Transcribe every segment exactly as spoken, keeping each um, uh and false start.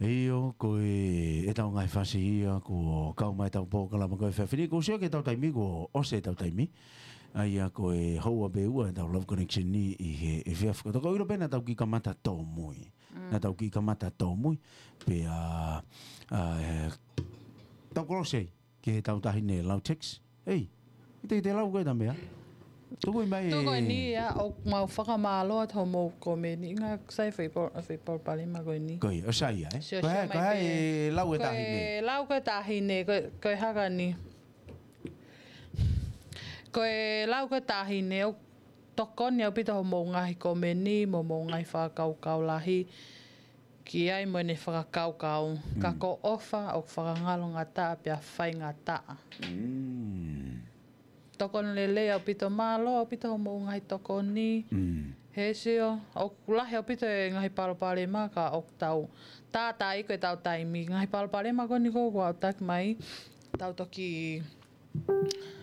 ʻIo, ko e, ʻetau ngaahi fasi ia, kuo kau mai ʻetau polokalama ko e efiafi ni, kuo ʻosi ʻetau taimi, kuo ʻosi ʻetau taimi. ʻA ia ko e houa pē ʻe ua ʻetau Love Connection ni ʻi he efiafi. Ko e toko ʻilo pē naʻa tau kiʻi kamata tōmui. Mm. Naʻa tau kiʻi kamata tōmui. Pea, ʻa, ʻe, tau kolose ki heʻetau taʻahine lau text. Ei, ʻikai te te lau koe ʻeta meʻa. Tuku mai. Tuku eni ia, ʻoku mau fakamālō atu hoʻomou komeni. Ngaahi sai fai pol-, fai palopalema ko eni. Ko ia, ʻo sai ia, ē? Sio, ko e sio hā, mai ko e hā pē. E lau ʻeta taʻahine? Ko e lau ko ē ʻeta taʻahine, ko, ko e hā ka ni. Ko e lau ko ē ʻeta taʻahine, ʻoku tokoni ʻaupito hoʻomou ngaahi komeni, mo hoʻomou ngaahi fakakaukau lahi. Ki ai mo ʻene fakakaukau. Ka Mm. ko e ʻofa ʻoku fakangaloʻia pea faingataʻa. Mm. Tokoni lelei ʻaupito, mālō ʻaupito hoʻomou ngaahi tokoni. Mm. He sio, ʻoku lahi ʻaupito e ngaahi palopalema ka ʻoku tau tātā ʻi ko ʻetau taimi. Ngaahi palopalema ko eni ko ē kuo aʻutaki mai, tau toki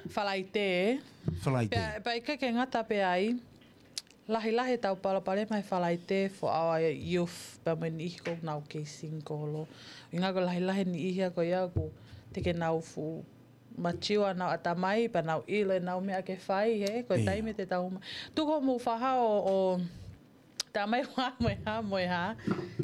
Falaite. Falaite. Pea, pea ʻikai ke ngata pē ai. Lahilahi ʻetau palopalema he Falaite for our youth, pea mo e niʻihi ʻoku nau kei single. ʻUhinga ko e lahilahi e niʻihi ia ko ia ʻoku teʻeki ke nau fuʻu mature ʻenau ʻatamai, pea nau ʻilo ʻenau meʻa ke fai, he, ko e Ia. taimi te tau ma-, tuku hoʻomou fakahā ʻo, ʻo tā mai ʻo hā mo e hā mo e hā,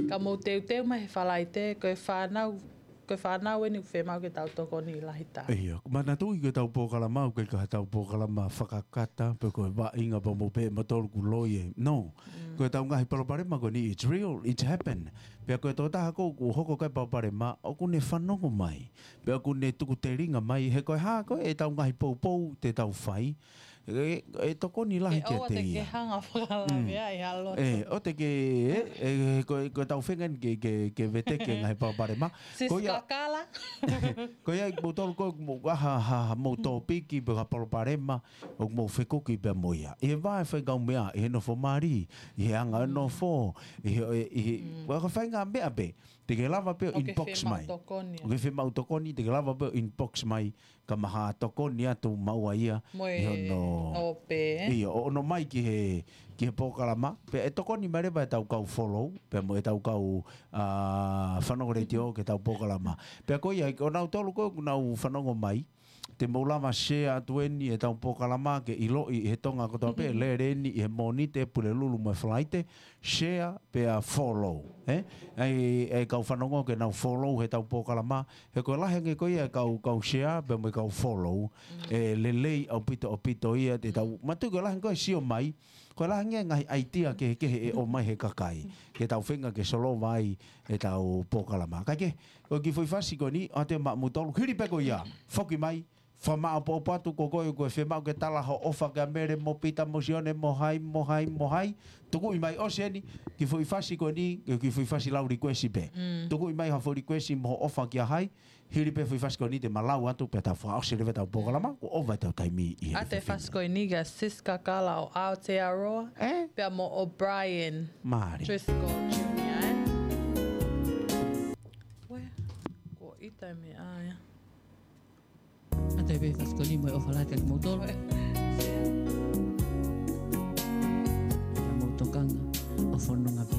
ka mou teuteu mai he Falaite, ko e fānau, ko e fānau eni ʻoku fiemaʻu ke tau tokoni lahi taha. ʻIo, manatuʻi ko ʻetau polokalama, ʻoku ʻikai ko haʻatau polokalama fakakata, pe ko e vaʻinga pea mo pehē mautolu ʻoku loi ē. No. Mm. Ko ʻetau ngaahi palopalema ko eni, it's real, it's happened. Pea ko e tokotaha ko ē ʻoku hoko ko ē e palopalema, ʻoku ne fanongo mai. Pea ʻoku ne tuku telinga mai, he ko e hā ko ē ʻetau ngaahi poupou te tau fai. ʻE, ʻe tokoni lahi ʻE kiate ia. ʻOua te ke hanga ʻo fakalaveaʻi ha loto. ʻE, ʻoua te ke, ʻe, ʻe, ko, ko ʻetau feinga eni ke, ke, ke veteki e ngaahi palopalema. Sis Ko ia, Kakala. ko ia ʻi moutolu ko ē, mo, ha, ha, ha, mou tōpiki pe ha palopalema, ʻoku mou fekuki pea mo ia. ʻI he vaʻe faikaumeʻa, ʻi he nofo mali, ʻi he anga e Mm. nofo, ʻi he, ʻi he, Mm. ko e faʻahinga meʻa pē, te ke lava pē ʻo ʻOku ke inbox fiemaʻu mai. tokoni. ʻOku ke fiemaʻu tokoni, te ke lava pē ʻo inbox mai, ka mahalo tokoni atu maua ia Mo ʻi e hono ʻo pē. ʻIo, ʻo ʻono mai ki he, ki he polokalama. Pea ʻe tokoni mai leva ʻetau kau follow, pea mo ʻetau kau, ʻa, fanongo letiō ki heʻetau polokalama. Pea ko ia, ʻo nautolu ko ē ʻoku nau fanongo mai, te mou lava share atu eni ʻetau polokalama ke ʻiloʻi ʻe he Tonga kotoa pē, lele eni ʻi he Mōnite, Pulelulu mo e Falaite, share pea follow, ē? ʻAi, ʻai kau fanongo ke nau follow heʻetau polokalama, he ko e lahi ange ko ia e kau, kau share pea mo e kau follow, Mm. ʻe lelei ʻaupito, ʻaupito ia te tau, Mm. manatuʻi ko e lahi ange ko e sio mai, ko e lahi ange ngaahi idea kehekehe ʻe ʻomai he kakai, ke tau feinga ke solova ai ʻetau polokalama. Kae kehe, ko e kiʻi foʻi fasi ko eni, ʻoatu maʻamoutolu, hili pē ko ia, foki mai, fakamāʻopoʻopo atu ko koe, ko e fiemaʻu ke tala hoʻo ʻofa kia Mele mo Pita mo Sione mo hai, mo hai, mo hai. Tukuʻi mai ʻosi eni, kiʻi foʻi fasi ko eni, kiʻi foʻi fasi lau request pē. Mm. Tukuʻi mai ha foʻi request mo hoʻo ʻofa kia hai, hili pē foʻi fasi ko eni te ma lau atu pea tau fakaʻosi leva ʻetau polokalama, kuo ʻova ʻetau taimi ʻi he ʻAte efiafi ni. Fasi ko eni kia Sis Kakala ʻo Aotearoa, Ē? pea mo O'Brien Mālie. Driscoll Junior, ē? Where? Ko ʻita e meʻa ia. ʻAte pē fasi ko eni mo e ʻofa lahi kiate kimoutolu. Ka mou tokanga ʻo fononga pē